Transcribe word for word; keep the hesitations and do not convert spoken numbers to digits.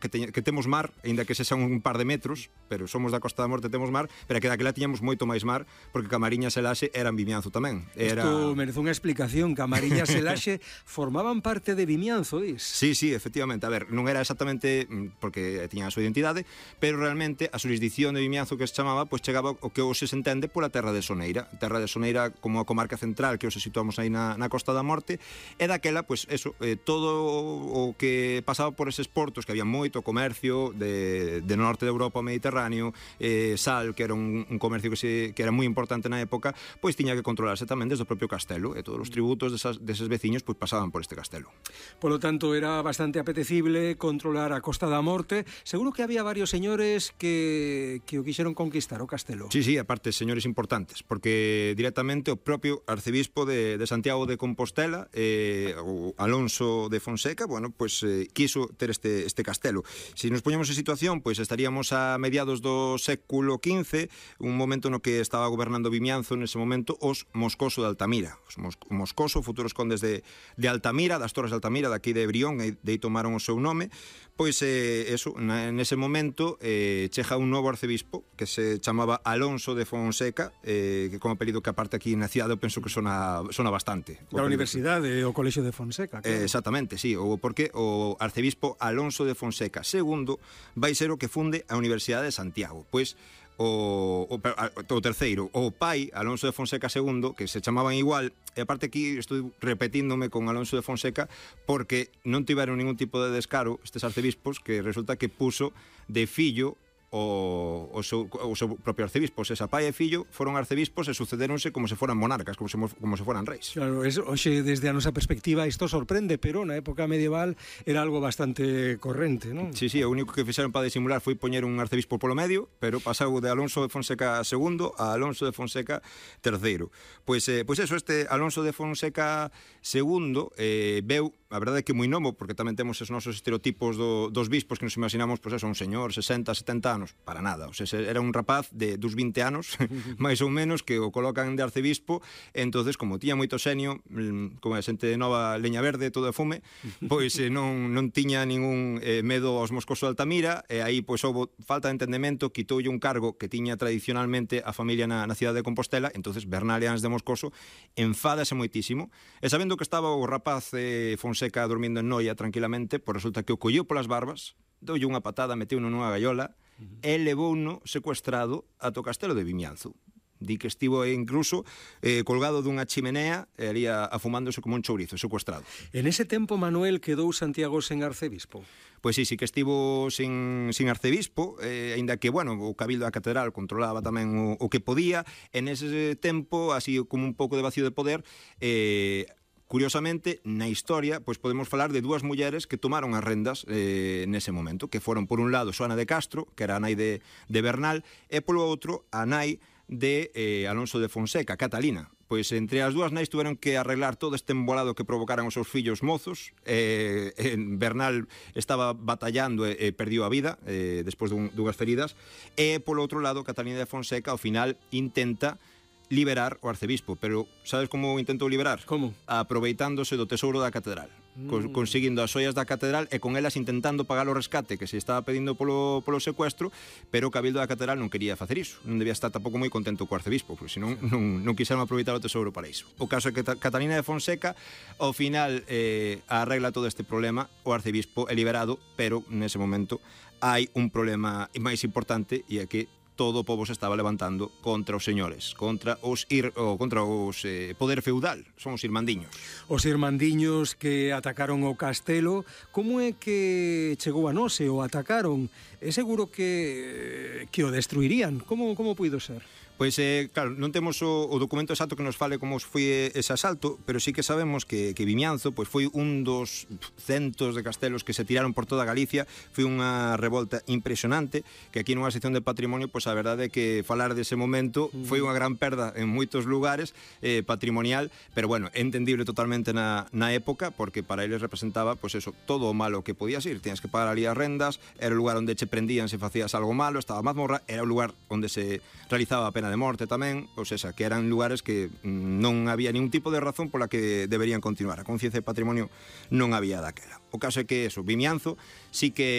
que, te, que temos mar, aínda que sexan un par de metros, pero somos da Costa da Morte, temos mar, pero que daquela tiñamos moito máis mar, porque Camariñas e Laxe eran Vimianzo tamén. Era... Isto merece unha explicación. Camariñas e Laxe formaban parte de Vimianzo, dis? Sí, sí, efectivamente. A ver, non era exactamente porque tiñan a súa identidade, pero realmente a xurisdicción de Vimianzo que se chamaba, pois chegaba o que hoxe se entende pola terra de Soneira. Terra de Soneira como a comarca central que hoxe situamos aí na, na Costa da Morte, e daquela, pois eso, eh, todo o que pasaba por eses portos, que había moito comercio de, de norte de Europa ao Mediterráneo, eh, sal, que era un, un comercio que, se, que era moi importante na época, pois tiña que controlarse tamén desde o propio castelo, e todos os tributos desas, deses veciños pois pasaban por este castelo. Polo tanto, era bastante apetecible controlar a Costa da Morte. Seguro que había varios señores que, que o quixeron conquistar o castelo. Sí, sí, aparte, señores importantes, porque directamente o propio arcebispo de, de Santiago de Compostela, eh, o Alonso de Fonseca, bueno, pois eh, quiso ter este, este castelo. Se nos poñemos en situación, pois estaríamos a mediados do século quince, un momento no que estaba gobernando Vimianzo nese momento os Moscoso de Altamira. Os Mos Moscoso, futuros condes de, de Altamira, das Torres de Altamira, daqui de Brión, e de aí tomaron o seu nome. Pois, eh, eso, na, nese momento eh, chega un novo arcebispo que se chamaba Alonso de Fonseca, eh, que como apelido que aparte aquí na cidade eu penso que sona, sona bastante. Da Universidade, o Colexio de Fonseca, claro. Eh, exactamente, sí, o porque o arcebispo Alonso de Fonseca segundo vai ser o que funde a Universidade de Santiago. Pois o, o, o terceiro, o pai Alonso de Fonseca segundo, que se chamaban igual, e aparte aquí estou repetíndome con Alonso de Fonseca porque non tiveron ningún tipo de descaro estes arcebispos, que resulta que puso de fillo o, o, seu, o seu propio arcebispo. Se pai e fillo foron arcebispos e sucederonse como se foran monarcas, como se, como se foran reis. Claro, es, oxe, desde a nosa perspectiva isto sorprende, pero na época medieval era algo bastante corrente, non? Sí, sí, o único que fixeron para disimular foi poñer un arcebispo polo medio, pero pasou de Alonso de Fonseca segundo a Alonso de Fonseca terceiro. Pois, eh, pois eso, este Alonso de Fonseca segundo eh, veu, a verdade é que moi novo, porque tamén temos os nosos estereotipos do, dos bispos que nos imaginamos, pois eso, un señor, sesenta, setenta anos, para nada, o sea, era un rapaz de dos vinte anos, máis ou menos, que o colocan de arcebispo, e entonces, como tiña moito xenio, como a xente de nova leña verde, todo de fume, pois eh, non, non tiña ningún eh, medo aos Moscoso de Altamira, e aí, pois, houve falta de entendemento, quitoulle un cargo que tiña tradicionalmente a familia na, na cidade de Compostela, entonces Bernal e Ans de Moscoso enfádase moitísimo, e sabendo que estaba o rapaz eh, Fonseca dormindo en Noia tranquilamente, pois resulta que o colleu polas barbas, doulle unha patada, meteu nunha gaiola, e levouno secuestrado ata o castelo de Vimianzo. Di que estivo incluso eh, colgado dunha chimenea e ali afumándose como un chourizo, secuestrado. En ese tempo, Manuel, quedou Santiago sen arcebispo? Pois sí, sí que estivo sin, sin arcebispo, eh, aínda que, bueno, o Cabildo da Catedral controlaba tamén o, o que podía. En ese tempo, así como un pouco de vacío de poder, eh, curiosamente, na historia, pois podemos falar de dúas mulleres que tomaron as rendas eh, nese momento, que foron, por un lado, Xoana de Castro, que era a nai de, de Bernal, e polo outro, a nai de eh, Alonso de Fonseca, Catalina. Pois entre as dúas nais tuveron que arreglar todo este embolado que provocaran os seus fillos mozos. eh, Bernal estaba batallando e, e perdiu a vida eh, despois dun, dunhas feridas, e polo outro lado, Catalina de Fonseca ao final intenta liberar o arcebispo, pero sabes como intentou liberar? Como? Aproveitándose do tesouro da catedral, mm. conseguindo as xoias da catedral e con elas intentando pagar o rescate que se estaba pedindo polo, polo secuestro, pero o Cabildo da Catedral non quería facer iso, non debía estar tampouco moi contento co arcebispo, porque senón non, non quixeron aproveitar o tesouro para iso. O caso é que Catalina de Fonseca ao final eh, arregla todo este problema, o arcebispo é liberado, pero nese momento hai un problema máis importante, e é que todo o pobo se estaba levantando contra os señores, contra os ir, o contra os eh, poder feudal, son os irmandiños. Os irmandiños que atacaron o castelo, como é que chegou a nós e o atacaron? É seguro que que o destruirían. Como como puido ser? Pois, eh, claro, non temos o, o documento exacto que nos fale como foi ese asalto, pero sí que sabemos que, que Vimianzo pois, foi un dos centos de castelos que se tiraron por toda Galicia, foi unha revolta impresionante, que aquí nunha sección de patrimonio, pois a verdade é que falar dese momento foi unha gran perda en moitos lugares eh, patrimonial, pero bueno, entendible totalmente na, na época, porque para eles representaba, pois eso, todo o malo que podías ir, tienes que pagar ali as rendas, era o lugar onde che prendían se facías algo malo, estaba a mazmorra, era o lugar onde se realizaba a pena de morte tamén, ou seja, que eran lugares que non había ningún tipo de razón pola que deberían continuar. A conciencia de patrimonio non había daquela. O caso é que eso, Vimianzo sí que